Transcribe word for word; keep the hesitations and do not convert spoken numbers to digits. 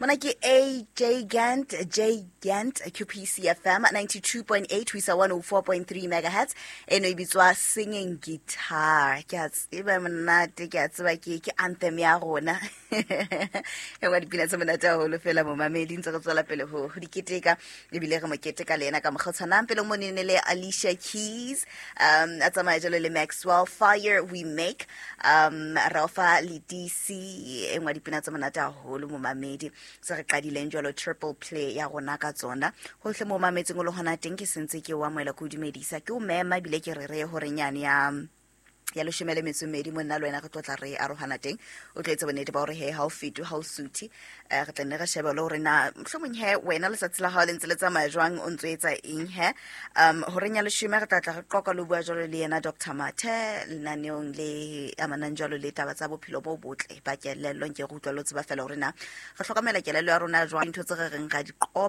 Mona ke A J Gant, J Gant, Q P C F M ninety-two point eight ho isa one oh four point three megahertz. Eno e bitswa Singing Guitar. Ke a tseba monate, ke a tseba ke, ke anthem ya rona. E nngwe ya dipina tse monate haholo fela momamedi, ntse re tswela pele ho, ho di keteka, ebile re mo keteka le yena ka mokgwa o tshwanang. Pele mo ne le Alicia Keys, um, a tsamaya jalo le Maxwell, Fire We Make, um, Rafa le D C, e nngwe ya dipina tse monate haholo momamedi. Se re qadileng jwalo triple play ya rona ka tsona. Hohle mo mametseng o le hona teng, ke sentse ke o amohela, ke o dumedisa, ke o mema ebile ke re re hore nyane ya, ya leshome le metso e mmedi monna le wena re tlo tla re arohana teng. O tlo etsa bonnete ba hore he ha o fetwe, ha o suthe. Eh, re tla nne re shebe le hore na mohlomong he wena letsatsi la hao le ntse le tsamaya jwang, o ntso etsa eng he. Um, horeng ya leshome re tla tla re qoqa le ho bua jwalo le yena Doctor Mathe lenaneong le amanang jwalo le taba tsa bophelo bo botle ba kelello. Nke re utlwa le ho tseba fela hore na re hlokomela kelello ya rona jwang, dintho tse re reng ra di qoba.